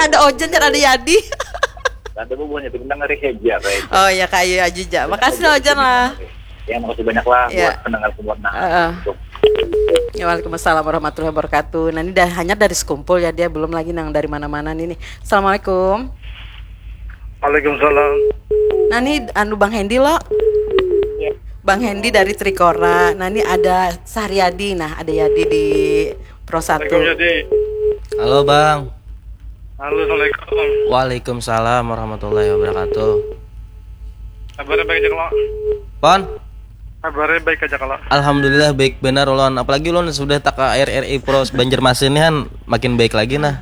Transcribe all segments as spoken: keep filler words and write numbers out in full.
Ada Ojan, ada Yadi. Ada bubuhannya itu mendengar aja, guys. Oh ya, kayu aja ja. Makasih lah, Ojan lah. Ya, makasih banyak lah Ya. Buat pendengar semua. Nah, Heeh. untuk Ya, waalaikumsalam warahmatullahi wabarakatuh. Nah, ini dah hanya dari sekumpul ya, dia belum lagi nang dari mana-mana nih, nih. Assalamualaikum. Waalaikumsalam. Nah, ini anu Bang Hendy lo. Bang Hendy dari Trikora. Nah, ini ada Sahriyadi. Nah, ada Yadi di Pro satu. Assalamualaikum, Yadi. Halo, Bang. Halo, assalamualaikum. Waalaikumsalam warahmatullahi wabarakatuh. Kabarnya baik aja kalau. Pon, Kabarnya baik aja kalau. alhamdulillah baik benar, ulun. Apalagi ulun sudah tak ke R R I Pro Banjarmasin nih, Han, makin baik lagi nah.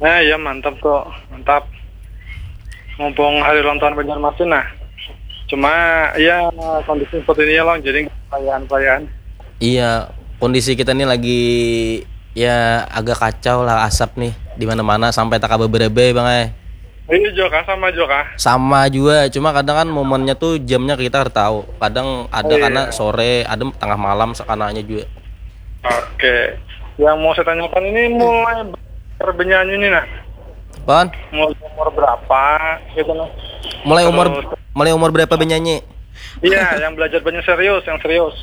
Nah, ya, mantap tuh, mantap. Mumpung hari ulang tahun Banjarmasin, nah. Cuma ya, kondisi seperti ini ya, Long, jadi perayaan-perayaan. Iya, kondisi kita nih lagi ya agak kacau lah, asap nih di mana-mana sampai tak kabar berebai, Bang, eh. Ini juga kah, sama juga kah? Sama juga, cuma kadang kan momennya tuh jamnya kita harus tahu. Kadang ada Oh, iya. Karena sore, ada tengah malam sekananya juga. Oke. Yang mau saya tanyakan ini mulai belajar bernyanyi nih, nah. Pon, Mulai umur berapa gitu, nah. mulai umur Terus- mulai umur berapa bernyanyi? Iya, yang belajar banyak serius, yang serius.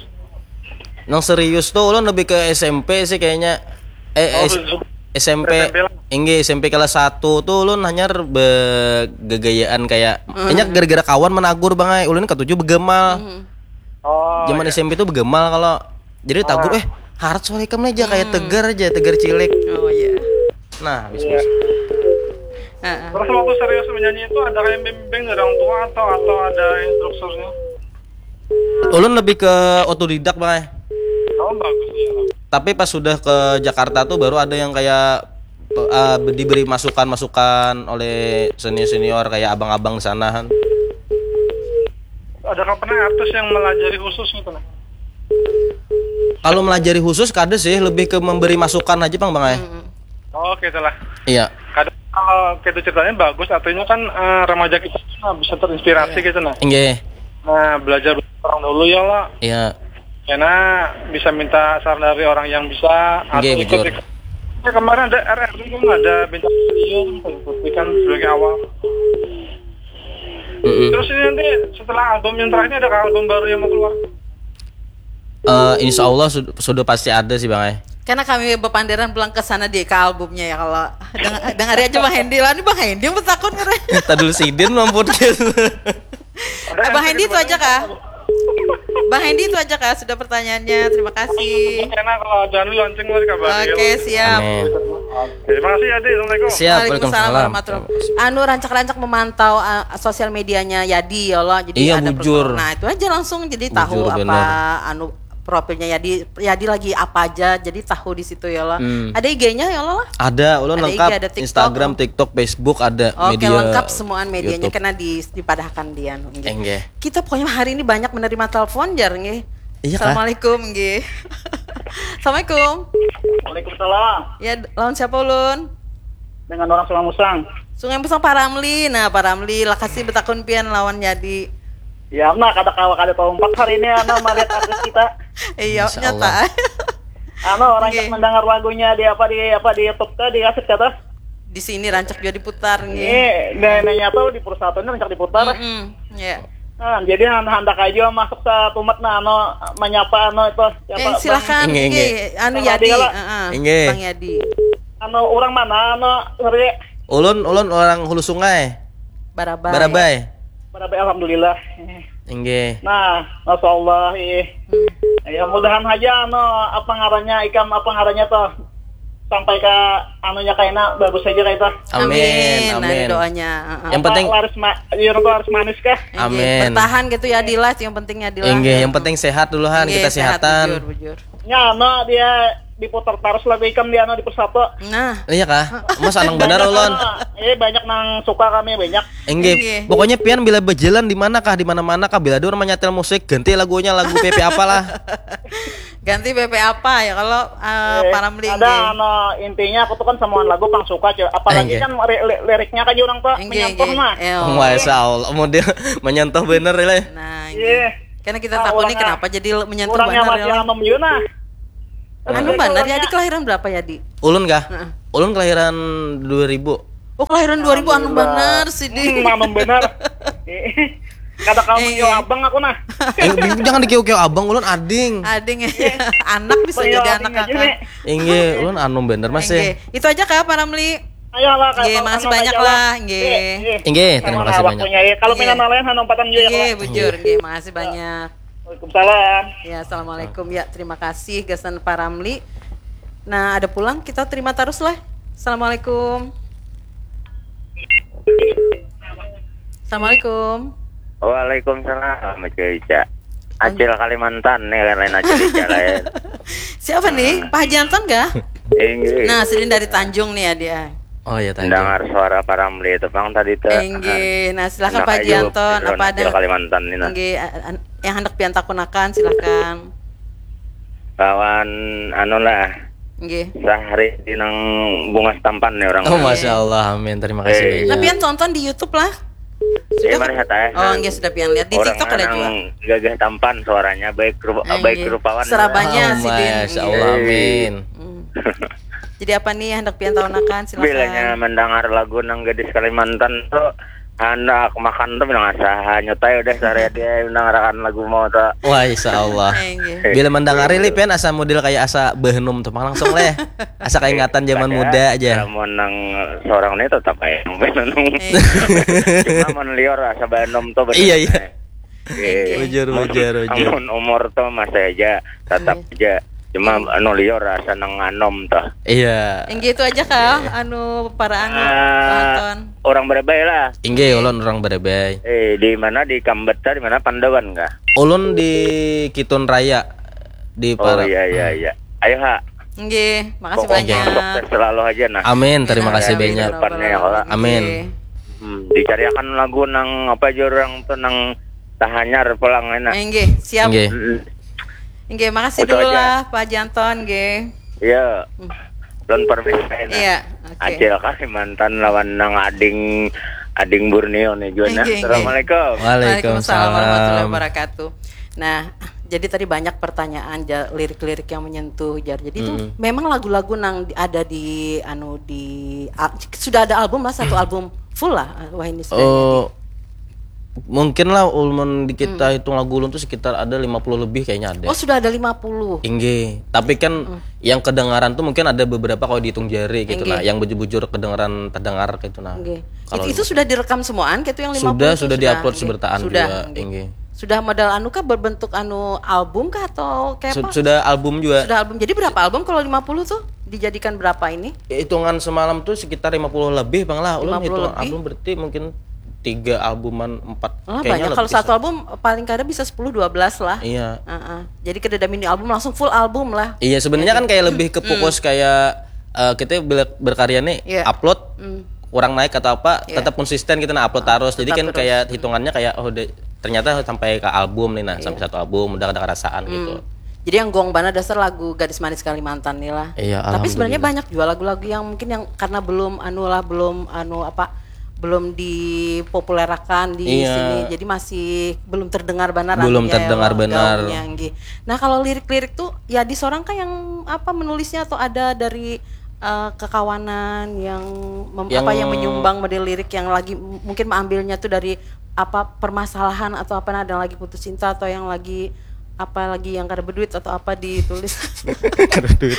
Nang serius tuh ulun lebih ke S M P sih kayaknya. Eh, Oh, S- su- S M P. S M P lah. Inggih, S M P kelas satu tuh ulun hanyar begegayaan kayak, hanya gara-gara kawan menagur, Bang, ai. Ulun ketujuh begemal. Oh, Zaman iya. S M P tuh begemal kalau jadi tagur, eh, harat suara ikam nih aja kayak tegar aja, tegar cilik. Oh iya. Nah, habis Iya. Heeh. Terus waktu serius menyanyi itu ada kayak bimbing dari orang tua atau atau ada instrukturnya? Ulun lebih ke otodidak, Bang, ai. Oh, bagus ya. Tapi pas sudah ke Jakarta tuh baru ada yang kayak eh, diberi masukan-masukan oleh senior-senior kayak abang-abang di sana, Han. Ada kapan artis yang melajari khusus gitu, nah? Kalau melajari khusus kada sih, lebih ke memberi masukan aja, Bang, Bang, ai. Oh, gitu lah. Iya. Kadang kalau gitu ceritanya bagus, artinya kan eh, remaja kita tuh, nah, bisa terinspirasi gitu, nah. Inggih. Nah, belajar orang dulu ya lah. Iya. Karena bisa minta saran dari orang yang bisa atau Nggih, ikut bujur. ikut. Ya, kemarin ada R R I kan, ada bintang studio kan, ikut kan sebagai awal. Mm-mm. Terus ini nanti setelah album yang terakhir ini ada album baru yang mau keluar. Eh, insya Allah sud- sudah pasti ada sih, Bang, ai. Karena kami berpanderan pulang ke sana di ke albumnya ya, kalau deng- dengar aja Bang Hendy lah, ini Bang Hendy yang bertakun keren. Tadul sidin mampun gitu. Eh, Bang Hendy itu aja kah? Bang Hendy itu aja kah sudah pertanyaannya. Terima kasih. Karena kalau ada anu launching, mau dikabari. Oke, siap. Amin. Oke, terima kasih ya, Adi. Assalamualaikum. Siap, Waalaikumsalam waalaikumsalam. warahmatullahi. Anu, rancak-rancak memantau uh, sosial medianya Yadi ya Allah. Jadi Iya, ada bujur. Nah, itu aja langsung jadi Bujur, tahu apa benar. Anu, profilnya Yadi, Yadi lagi apa aja, jadi tahu di situ ya Allah. Hmm. Ada I G-nya ya Allah lah. Ada, ulun Ada I G, lengkap. ada TikTok. Instagram, TikTok, Facebook ada. Oke, Media lengkap semua medianya YouTube. Kena di dipadahkan Dian. Enggih. Kita pokoknya hari ini banyak menerima telepon jar nggih. Iya kah? Assalamualaikum nggih. Assalamualaikum. Waalaikumsalam. Ya, lawan siapa ulun? Dengan orang Sungai Musang. Sungai Musang, Pak Ramli. Nah, Pak Ramli, lakasi betakun pian lawan Yadi. Ya, nah, kada kawa kada tahu empat hari ini, nah, melihat artis kita. Iya, Masya nyata. Allah. Anu, orang Oke. yang mendengar lagunya di apa, di apa, di YouTube tuh, di kaset kata. Di sini rancak juga diputar nggih. Ini, nah, nah, nyata di perusahaan ini rancak diputar. Mm-mm, ya. Nah, jadi han- handak aja masuk sa tumat, nah, anu, menyapa, anu, itu, siapa, Eh, silakan Inggih, nggih, inggih. anu Bang Yadi, Adi lah. Heeh, Inggih. Bang Yadi. Bang, anu, orang mana, anu, ngeri. Ulun, ulun orang Hulu Sungai. Barabai. Barabai. Barabai, alhamdulillah. Inggih. Nah, masya Allah, ih. Ya, mudahan aja, anu, apa ngarannya, ikam, apa ngarannya tuh, sampai ke anunya kaina bagus aja kayak itu. Amin, Ada amin. Doanya. Heeh. Yang penting Laris ma, iya, orang tuh laris manis kah? Nggih, Amin. Bertahan gitu ya, Dilas, yang penting ya, Dilas. Inggih, yang penting sehat dulu, Han, Nggih, kita sehat, sehatan. Bujur, bujur. Ya, anu, dia diputar terus lagu ikam, dia, anu, di persatu. Nah, Iya kah? Mas, senang benar, ulun. Eh, banyak nang suka kami, banyak. Inggih. Inggih. Pokoknya pian bila berjalan di mana kah, di mana-mana kah, bila ada orang menyetel musik, ganti lagunya, lagu P P apalah. Ganti P P apa ya kalau eh, Eh, Pak Ramli ada, nggih. Anu, intinya aku tuh kan semua lagu pang suka, cuy. Apalagi Inggih. Kan re- li- liriknya kan orang tuh Nggih, menyentuh nggih. mah. Eh, oh. Masya Allah, model menyentuh bener ya. Nah, Iya. karena kita Ah, takut nih orangnya- kenapa jadi menyentuh Orangnya benar masih ya. Anom juga, nah. Anu Jadi benar ya, orangnya- di kelahiran berapa ya, Di? Ulun kah? Heeh. Ulun kelahiran dua ribu. Oh, kelahiran dua ribu anu Alhamdulillah. Banar sih, Din. Hmm, anu banar. Kada kamu Eh. yo abang aku nah. Eh, jangan dikiau-kiau abang, ulun ading. Ading ya. Anak bisa Bang, yo jadi ading anak aja, kakak. Nek. Inggih, ulun anu bener masih. Inggih. Itu aja kah, Pak Ramli? Ayolah, Inggih, kalau makasih anu banyak aja lah, inggih. Eh, eh. Inggih, terima Sama kasih lah banyak. Waktunya, ya. Kalau Inggih. minat lain anu empatan juga ya, Inggih, Kak. bujur, inggih, makasih banyak. Waalaikumsalam. Ya, assalamualaikum. Ya, terima kasih gasan Pak Ramli. Nah, ada pulang, kita terima terus lah. Assalamualaikum. Assalamualaikum. Waalaikumsalam, Acil Ica. Acil Kalimantan nih, lain Acil Ica lain. Siapa nih? Pak Haji Anton kah? Inggih. Nah, sidin dari Tanjung nih ya dia. Oh ya, tadi. Dengar suara Pak Ramli itu pang tadi tuh. Inggih. Nah, silakan Enak Pak aja Haji Anton, obrolan apa ada? Acil Kalimantan ini nah. Inggih, an- yang hendak pian takunakan, silakan. Lawan anu lah, Inggih. sahari di nang bungas tampan nih orang. Oh, masya Allah, amin. Terima kasih Eh. banyak. Nah, pian tonton di YouTube lah. Eh, mari hata, eh. Oh, inggih, sudah pian lihat. Di Orang TikTok ada nang juga. Gagah tampan suaranya, baik rupa, Eh, baik inggih. rupawan. Serabanya Oh, sidin. masya Allah, amin. Hmm. Jadi apa nih yang hendak pian takunakan? Silakan. Bilanya mendengar lagu nang gadis Kalimantan tuh, anak makan tuh bilang asa hanyut aja udah sehari dia mendengarkan lagu mau tuh. Wah, insya Allah. Eh, inggih. Bila mendengar ini, pian asa model kayak asa behenum tuh, langsung leh. Asa keingatan zaman Kada, muda aja. Lamun nang seorang ini tetap aja nang behenum. Eh, Cuma mun liur asa behenum tuh bener. Iya, iya. Eh. Bujur, bujur, bujur. Amun umur tuh masih aja, tetap Iya. aja. Cuma anu liur asa nang anom tuh. Iya. Inggih, itu aja kah? Anu, para anu, Ah, penonton. Orang Berebai lah. Inggih, ulun orang Berebai. Eh, di mana, di Kambet tah, di mana, Pandawan kah? Ulun di Kitun Raya, di Oh Para. Iya, iya, iya. Ayo ha. Inggih, makasih Pokoknya banyak. Sukses selalu aja nah. Amin, terima Amin, kasih amin, banyak. ya Rabbal Depannya, ya, Alamin. Amin. Inggih. Hmm, dicariakan lagu nang apa aja orang tuh nang tahanyar pulang enak. Inggih, siap. Inggih. Mm-mm. Inggih, makasih Itu dulu aja. lah Pak Haji Anton, nggih. Iya. Hmm. Don permisi enak. Iya, oke. Acil Kalimantan lawan nang ading, ading Borneo nih juga nah. Inggih, inggih. Assalamualaikum. Waalaikumsalam warahmatullahi Waalaikumsalam. Wabarakatuh. Nah, jadi tadi banyak pertanyaan ja- lirik-lirik yang menyentuh, jar. Jadi itu Mm-mm. memang lagu-lagu nang di- ada di anu di al- sudah ada album lah, satu album full lah, wah ini sudah. Oh, mungkin lah ulun di kita hitung lagu ulun tuh sekitar ada lima puluh lebih kayaknya ada. Oh, sudah ada lima puluh. Inggih, tapi kan yang kedengaran tuh mungkin ada beberapa kalau dihitung jari gitu Inggih. Nah, yang bujur-bujur kedengaran terdengar gitu nah. Nggih. Kalau Itu, itu sudah direkam semuaan kayak itu yang lima puluh Sudah, tuh sudah diupload Nggih. seberataan Sudah, juga, nggih. Inggih. Sudah modal anu kah, berbentuk anu album kah atau kayak Su- apa? Sudah album juga. Sudah album. Jadi berapa album kalau lima puluh tuh dijadikan berapa ini? Hitungan semalam tuh sekitar lima puluh lebih bang lah. Ulun Lima puluh hitung lebih? Album berarti mungkin tiga albuman empat. Lah Kayaknya banyak. Kalau lebih satu sih. Album paling kada bisa sepuluh dua belas lah. Iya. Heeh. Jadi kada ada mini album, langsung full album lah. Iya, sebenarnya Jadi- kan kayak lebih ke fokus kayak eh, kita bila berkarya nih Iya. upload Hmm. kurang naik atau apa Iya. tetap konsisten kita nah upload Ah, terus. Jadi tetap kan terus. Kayak hitungannya kayak oh de- ternyata sampai ke album nih nah, Iya. Sampai satu album udah ada kerasaan gitu. Hmm. Jadi yang gong banget dasar lagu Gadis Manis Kalimantan nih lah. Iya, Tapi sebenarnya alhamdulillah. Banyak juga lagu-lagu yang mungkin yang karena belum anu lah, belum anu apa, belum dipopulerakan di Iya. sini. Jadi masih belum terdengar benar Belum anunya ya, terdengar wah, benar. Gaungnya, nggih. Nah, kalau lirik-lirik tuh ya di seorang kan yang apa menulisnya atau ada dari eh, kekawanan yang mem- Yang apa yang menyumbang model lirik yang lagi m- mungkin mengambilnya tuh dari apa permasalahan atau apa, nah, ada yang lagi putus cinta atau yang lagi apa lagi yang kada berduit atau apa ditulis. Kada duit.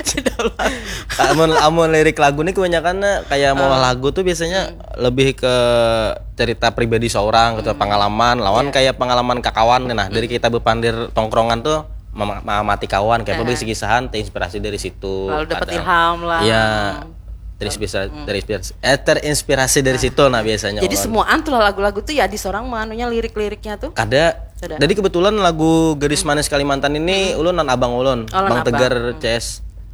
Amun amun lirik lagu nih kebanyakan kayak mau Ah. lagu tuh biasanya lebih ke cerita pribadi seorang gitu, pengalaman lawan Iya. Kayak pengalaman kakawan nih nah. Dari kita bepandir tongkrongan tuh mama- mamati kawan kayak apa Aha. Bisi kisahan terinspirasi dari situ. Lalu dapat Ada- ilham lah. Iya. Terinspirasi, terinspirasi eh terinspirasi dari situ nah biasanya. Jadi Orang. Semuaan tuh lagu-lagu tuh ya di seorang manunya lirik-liriknya tuh. Kada. Kada. Jadi kebetulan lagu Gadis Manis Kalimantan ini ulun nan abang ulun, Oh, lan Bang Tegar abang. C S.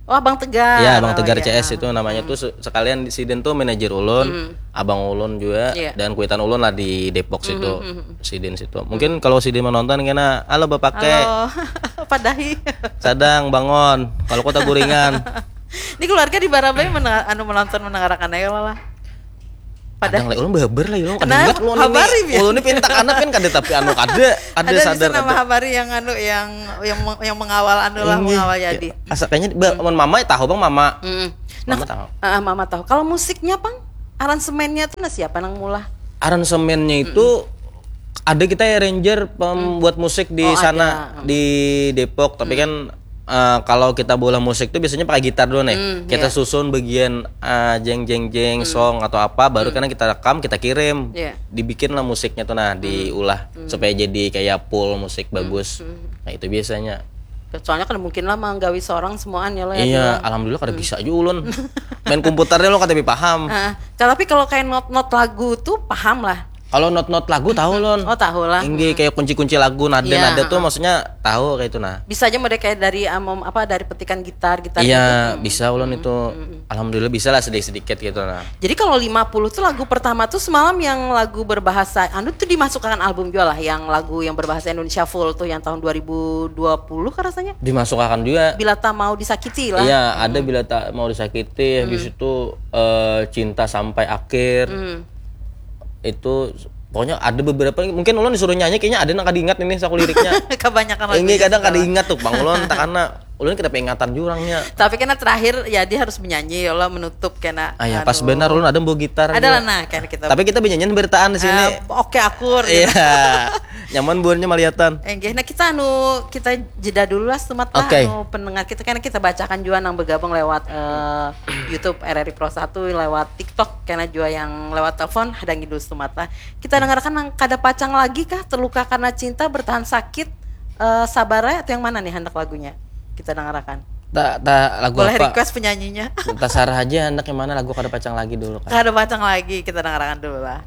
Oh, Abang Tegar. Ya, Bang Oh, Tegar iya. C S itu namanya tuh se- sekalian di sidin tuh manajer ulun, abang ulun juga Iya. Dan kuitan ulun lah di Depok situ. Sidin situ. Mungkin kalau sidin menonton kena halo Bapak Ke. Halo. Padahi. Sadang bangun. Kalau kota Guringan. Ini keluarga di Barabai mendengar, anu menonton mendengarkan aja lah. Padahal lah ulun babar lah ulun Nah, kada ingat ulun habari, ini. Bian. Ulun ini pintakan apa kan kada tapi anu kada kada Ada di sadar sana kada. Habari yang anu yang yang yang mengawal anu lah Ini, mengawal ya, jadi. Asa kayaknya ba- mun mama tahu bang mama. Mm. Nah, Mama tahu. ah, mama tahu. Kalau musiknya pang Aransemennya tuh nah siapa nang mulah? Aransemennya itu ada kita arranger pembuat musik di Oh, sana ada. di Depok, tapi kan eh, kalau kita bola musik tuh biasanya pakai gitar dulu nih. Hmm, Kita iya. susun bagian eh, jeng jeng jeng song atau apa, baru kan kita rekam, kita kirim. Iya. Dibikin lah musiknya tuh nah, diulah supaya jadi kayak pool musik bagus. Nah, itu biasanya. Soalnya kan mungkin lah manggawi seorang semuaan ya lo ya. Iya, Dua. Alhamdulillah kada bisa aja ulun. Main komputernya lo kada paham. Ah, tapi kalau kayak not-not lagu tuh paham lah. Kalau not-not lagu tahu lon. Oh, tahu lah. Inggih, kayak kunci-kunci lagu, nada-nada Iya, tuh maksudnya tahu kayak itu nah. Bisa aja mau kayak dari um, apa dari petikan gitar, gitar Iya, gitu. bisa ulun itu. Alhamdulillah bisa lah sedikit-sedikit gitu nah. Jadi kalau lima puluh tuh lagu pertama tuh semalam yang lagu berbahasa anu tuh dimasukkan album juga lah, yang lagu yang berbahasa Indonesia full tuh yang tahun dua ribu dua puluh kan rasanya. Dimasukkan juga. Bila tak mau disakiti lah. Iya, ada bila tak mau disakiti, habis itu eh, cinta sampai akhir. Hmm. Itu pokoknya ada beberapa, mungkin ulun disuruh nyanyi kayaknya ada nang kada ingat ini saku liriknya. Kebanyakan lagu. Ini kadang kada ingat tuh Bang ulun, tak karena ulun kada peringatan jurangnya. Tapi kena terakhir ya dia harus menyanyi ya Allah menutup kena. Ah ya, pas Aduh. Benar ulun ada bawa gitar. Ada lah Juga. Nah, kan kita. Tapi kita benyanyian bertaan di sini. Eh, oke akur. Gitu. Iya. Nyaman buannya maliatan. Enggih, nah kita anu kita jeda dulu lah semat lah Oke. Anu pendengar kita karena kita bacakan juga nang bergabung lewat eh, YouTube R R I Pro satu lewat TikTok karena juga yang lewat telepon hadangi dulu semat lah. Kita dengarkan nang kada pacang lagi kah terluka karena cinta bertahan sakit eh, sabar ya atau yang mana nih hendak lagunya? Kita dengarkan. Tak tak lagu Boleh apa? Request penyanyinya. Tasarah aja hendak yang mana lagu kada pacang lagi dulu kan. Kada pacang lagi kita dengarkan dulu lah.